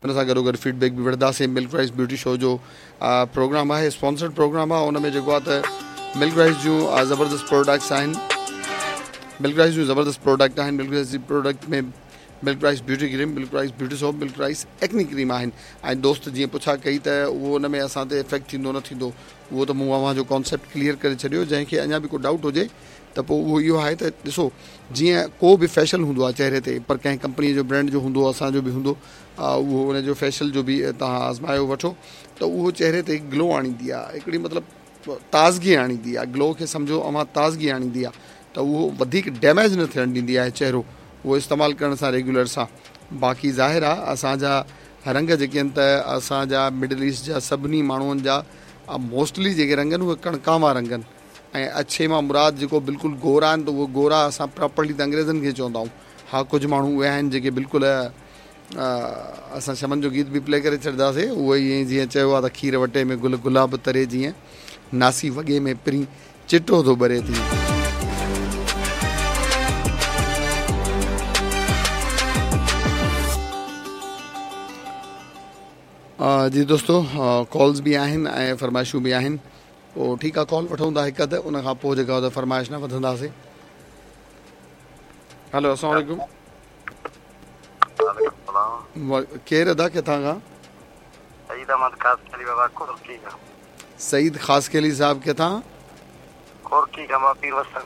ان سان گڏوگڏ feed back به وٺنداسين. ملڪ رائس بيوٽي شو جو پروگرام آهي اسپانسرڊ پروگرام آهي ان ۾ جيڪو آهي ته ملڪ رائس جون زبردست پروڊڪٽس آهن ملڪ رائس جون زبردست پروڊڪٽ آهن ملڪ رائس جي product ۾ milk rice beauty cream milk rice beauty soap milk rice acne cream آهن ۽ دوست جيئن پڇا ڪئي ته اهو ان ۾ اسان تي افيڪٽ ٿيندو نه ٿيندو اهو ته مون اوهان جو ڪانسيپٽ ڪليئر ڪري ڇڏيو جنهن کي اڃا به ڪو ڊائوٽ هجي ته پوء اهو اهو آهي ته ڏسو جيئن ڪو به فيشل هوندو آهي چهري تي پر ڪنهن ڪمپني جو برانڊ جو هوندو اسان جو به هوندو اهو ان جو فيشل جو به توهان آزمايو وٺو ته اهو چهري تي گلو آڻيندي آهي هڪڙي مطلب تازگي آڻيندي آهي گلو کي سمجهو اوهان تازگي آڻيندي آهي ته اهو وڌيڪ ڊيميج نه ٿيڻ ڏيندي آهي چهرو اهو استعمال ڪرڻ سان ريگيولر سان باقي ظاهر آهي اسان جا رنگ جيڪي آهن ته اسان جا مڊل ايسٽ جا سڀني ماڻهن جا موسٽلي جيڪي رنگ آهن اهي ڪڻڪاوان رنگ آهن ۽ اڇي مان مراد جيڪو بلڪل گورا آهن ته اهي گورا اسان پراپرلي ته انگريزن کي چوندا آهيون ها ڪجهه ماڻهو اهي آهن جيڪي بلڪل اسان شمن جو گيت به پلي ڪري ڇڏنداسي اهو ئي ائين جيئن چيو آهي ته کير وٽي ۾ گل گلاب تري جيئن ناسي وڳي ۾ پرين چٽو ٿو ٻري تيئن. جي دوستو ڪالز به آهن ۽ فرمائشون به آهن پوء ٺيڪ آ ڪال وٺون ٿا هڪ اڌ ان کان پوء جيڪا ته فرمائش نه وڌنداسين هلو السلام عليڪم وعليڪم السلام ڪير ادا ڪٿان کان؟ سعيد احمد خاصخيلي بابا ڪورڪي کان. سعيد خاصخيلي صاحب ڪٿان؟ ڪورڪي کان بابا پير وسڻ.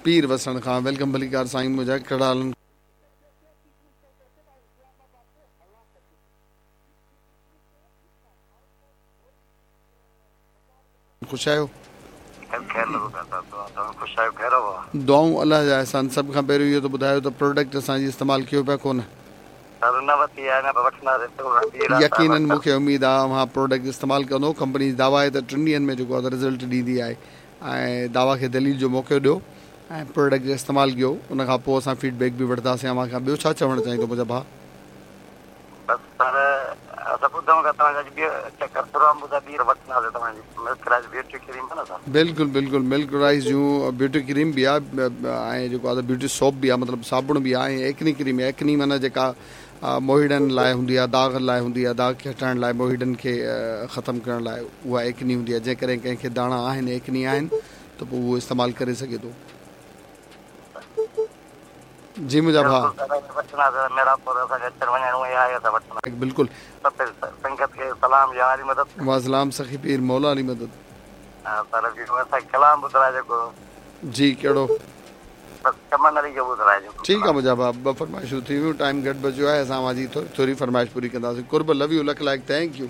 پير وسڻ کان welcome ڀليڪار سائين منهنجا ڪهڙا حال آهن. خوش آهيو؟ دعائون الله جا احسان سڀ کان پهريون اهو ته ٻڌايو ته پروڊڪٽ اسان جي استعمال ڪيو پيا ڪونه؟ يقينن مون کي اميد آهي اوهان پروڊڪٽ استعمال ڪندو ڪمپني جي دعويٰ آهي ته ٽن ڏينهن ۾ جيڪو آهي ته رزلٽ ڏيندي آهي ۽ دعويٰ کي دليل جو موقعو ڏيو ۽ پروڊڪٽ استعمال ڪيو ان کان پوء اسان فيڊ بيڪ به وٺنداسين اوهان کان ٻيو ڇا چوڻ چاهيندو منهنجا ڀاء. بس سر اسان ٻڌون ٿا توهان جا اڄ ٻيو چڪر پروگرام ٻڌا ٻيهر وٺنداسين توهان جي ملڪ رائس بيوٽي ڪريم آ نه سر. بلڪل بلڪل ملڪ رائس جون بيوٽي ڪريم به آ ۽ جيڪو آ ته بيوٽي سوپ به آ مطلب صابڻ به آ ۽ ايڪني ڪريم ايڪني معنيٰ جيڪا موهيڙن لاء هوندي آ داغ لاء هوندي آ داغ کي هٽائڻ لاء موهيڙن کي ختم ڪرڻ لاء اها ايڪني هوندي آ جيڪڏهن ڪنهن کي داڻا آهن ايڪني آهن ته پوء اهو استعمال ڪري سگهي ٿو. جي منهنجا ڀاء. بلڪل. واسلام سخي پير مولا علي مدد. جي ڪهڙو. ٺيڪ آ منهنجا ڀاء ٻه فرمائشون ٿي ويون ٽائيم گهٽ بچيو آهي اسان اوهان جي ٿوري فرمائش پوري ڪنداسين قرب لو يو لک لائق thank you.